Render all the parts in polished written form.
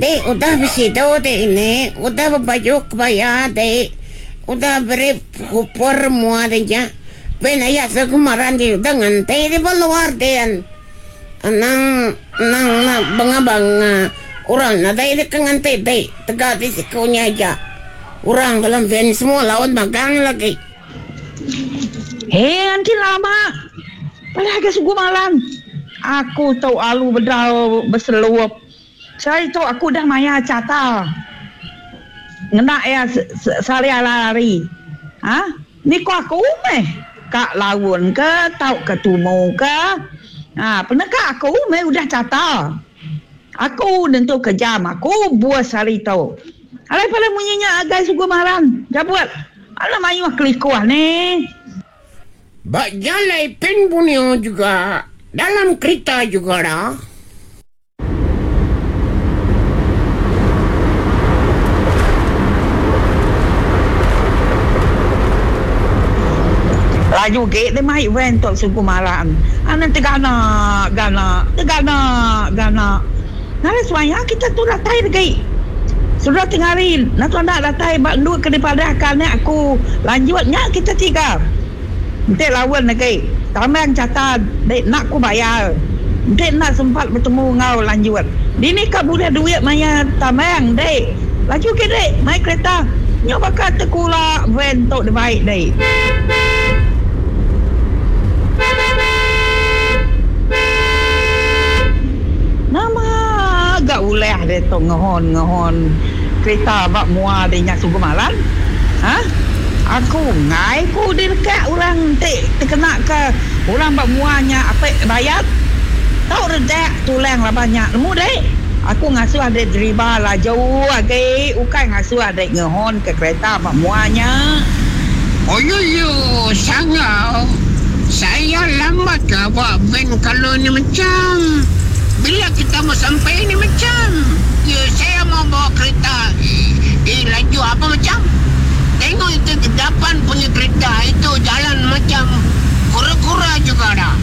Dek udah besidu dek ini, udah bebaju kebaya dek, udah beri kupur mua dek nya. Pen aya segemaran dek udah nganti dek ba luar din. Anang anang enda banga banga orang nadai dek ke nganti dek tega dek siku nya aja. Orang dalam van semua laun magang lagi. Hei anti lama padah ga sugu malam aku tu alu bedau beselup. Sehari tu aku udah mayar chata ngena iya sehari hari. Ha ni ko aku meh ka laun ke tauka tumu ke ha peneka aku meh udah chata. Aku nentu ke jam aku bus hari tu. Alai pala munyi nya agai sugu maran jabut alah mayuh kelikuh nih. Ba jalai Pan Borneo juga dalam kerita juga dah. Laju gi deh mai van tu sugu maran. Anak tegana gana tegana gana. Ngagai semaya kita tu datai degi. Sudah tengari natu enda datai ba endur ke dipadahka anak aku lanjut nya kita tiga. Enti laun agi tambang chata dek enda ku bayar. Enti enda sempat betemu enggau lanjut. Dini ka bulih duit maya tambang dek. Laju agi dek mai kereta nyu baka tekula van tu dibai dek. Nama ga ulah deh tu ngehon ngehon kerita ba mua deh nya sugu malan. Ha? Aku enggai ku dilekak orang ti tekena ke orang ba mua nya apek bayat. Tau redak tulang laban nya nemu deh. Aku ngasuh deh deriba laju agi ukai ngasuh deh ngehon ke kereta ba mua nya. Oyoyo sangau saya lambat ka ba van kalau ni macam bila kita mau sampai ni macam ya saya mau bawa kereta eh laju apa macam tengok itu ke depan punya kereta itu jalan macam kura-kura juga dah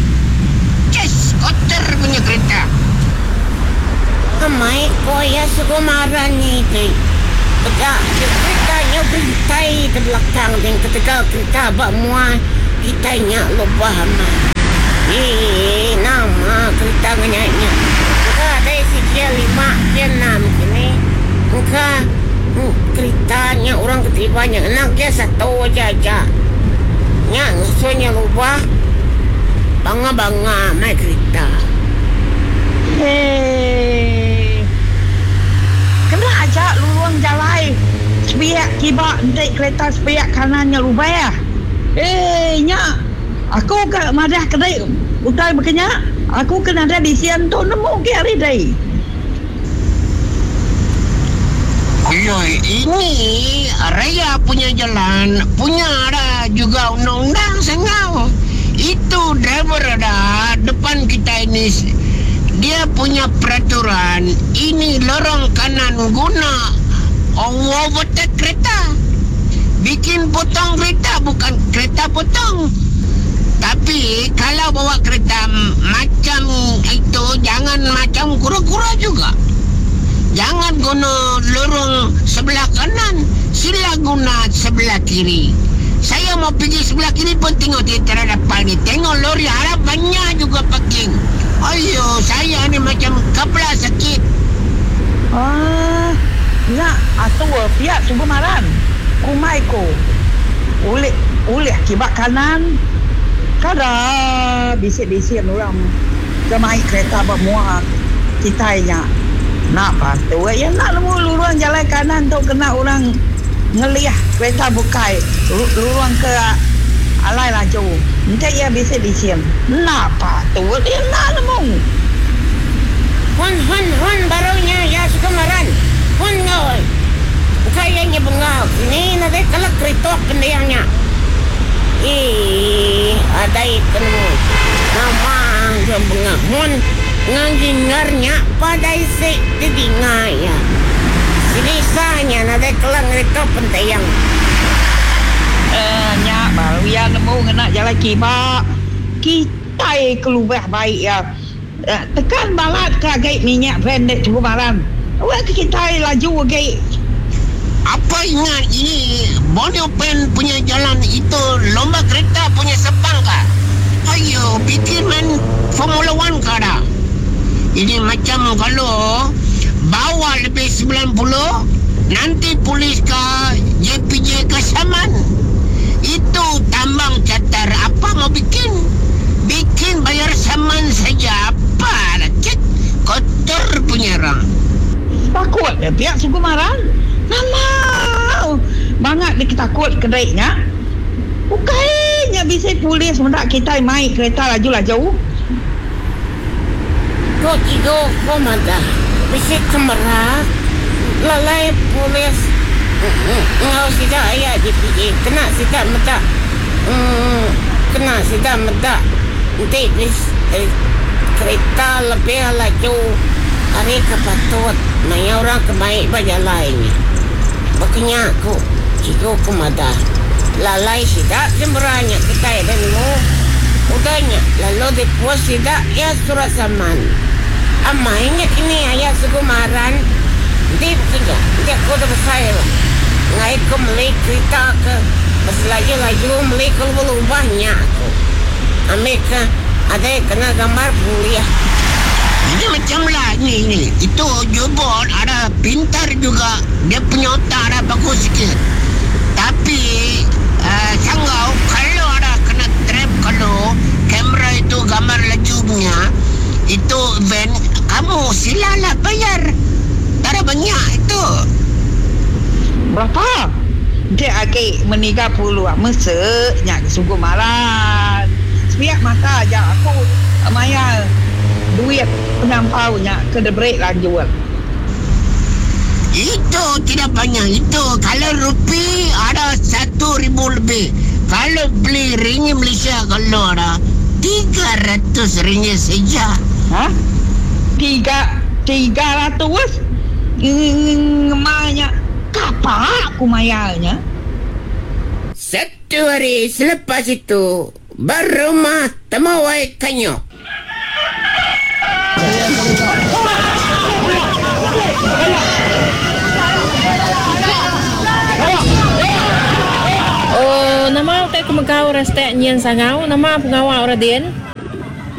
ces kotor punya kereta. Amai ko iya segumaran ni ti. Peda ti kerita nyau berintai di belakang din ketegal kerita ba mua kitai nya lubah amat. Eii nama kerita ngenya nya. Engka dai sigi lima ke enam kini. Engka kerita nya orang ke deriba nya ngena gear satu aja aja. Nya ngasuh nya lubah banga banga mai kerita. Hei. Kena aja lurung jalai sepiak kiba enti kereta sepiak kanan nya lubah. Hei nya aku ka madah kedi utai baka nya aku ke nadai lisin tu nemu agi ari dei. Oyoi ini raya punya jalan punya ada juga undang-undang sengau itu driver ada depan kita ini dia punya peraturan ini lorong kanan guna overtake kereta bikin potong kereta bukan kereta potong tapi kalau bawa kereta macam itu jangan macam kura-kura juga. Jangan guna lorong sebelah kanan, sila guna sebelah kiri. Saya mau pergi sebelah kiri pun tengok tentera depan ni. Tengok lori harap banyak juga parking. Ayo, saya ni macam kepala sakit. Aah, nya atur pia suba maran. Kumbai ku ulih ulih kiba kanan. Kada bisi-bisi orang ke mai kereta ba mua kitai nya. Enda patut iya enda nemu lurung jalai kanan tu kena orang ngelih kereta bukai lurung ke alai laju enti iya bisi lisin. Enda patut iya enda nemu. Hon hon hon baru nya iya suka maran. Hon enggau ai. Ukai iya nya bengal kini nadai kala keritok pending nya. Eii adai penemu nama ga bengal hon enggau jinggar nya padai si didinga iya. Selisa nya nadai kala ngeritok pending. Eeh nya baru iya nemu ngena jalai kiba. Kitai ke lubah bai iya. Tekan balat ke agi minyak van dek chukup malam. Awak ke kitai laju agi. Apa ingat ini Borneo Pen punya jalan itu lomba kereta punya sepang ka? Ayo bikin main Formula One ka dah. Ini macam kalau bawa lebih 90 nanti polis ka JPJ ka saman. Itu tambang catar apa mau bikin? Bikin bayar saman saja apa lah cik kotor punya orang. Takut deh pia suku maran. Nama bangat dek takut ke dek nya. Ukai nya bisi polis meda kitai mai kereta laju-laju. Ko Cigu ko madah bisi kemera lalai polis enggau sida aya JPJ kena sida meda kena sida meda enti bisi kereta lebih laju ari ke patut maya orang ke mai ba jalai nya. Baka nya ku Cigu ko madah lalai sida kemera nya kitai enda nemu. Udah nya lalu dipus sida iya surat saman. Amai nya kini aya Sugu Maran enti baka nya enti aku udah besai lah enggai ku meli kerita ke beselaju-laju meli ke lubah-lubah nya aku. Ambi ke adai kena gambar pulih. Ini macam lah ini ini itu jubot ada pintar juga dia punya otak ada bagus sikit tapi sanggau kalau ada kena trap kalau kamera itu gambar laju punya itu van kamu sila lah bayar tak ada banyak itu. Berapa enti agi meniga puluh mese nya ke sungguh malan sepiak mata aja aku mayar duit penyampau nya ke diberi lanjut. Itu tidak banyak itu kalau rupee ada 1000 lebih kalau beli ringgit Malaysia kalau ada 300 ringgit saja. Ha? Tiga 300 ngema nya kapa ku mayar nya. Satu hari selepas itu ba rumah Temawai Kanyok. Oh, nama utai ke mega orang setek nyin sangau, nama pengawa orang din?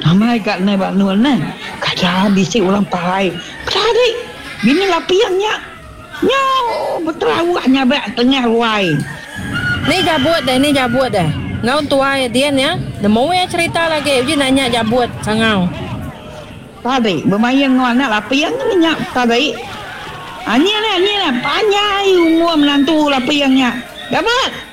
Amai ga neh ba endur neh. Kada bisi orang parai. Peda dik, bini laping nya nyau beterawah nyabak tengah ruai. Ni jabut deh, ni jabut deh. Enggau tuai din ya. Nemu iya cerita lagi uji nanya jabut sangau. Tadi bemain enggau anak laping meh nya tadi. Anyi neh anyi neh panjai umur menantu laping nya. Jabut.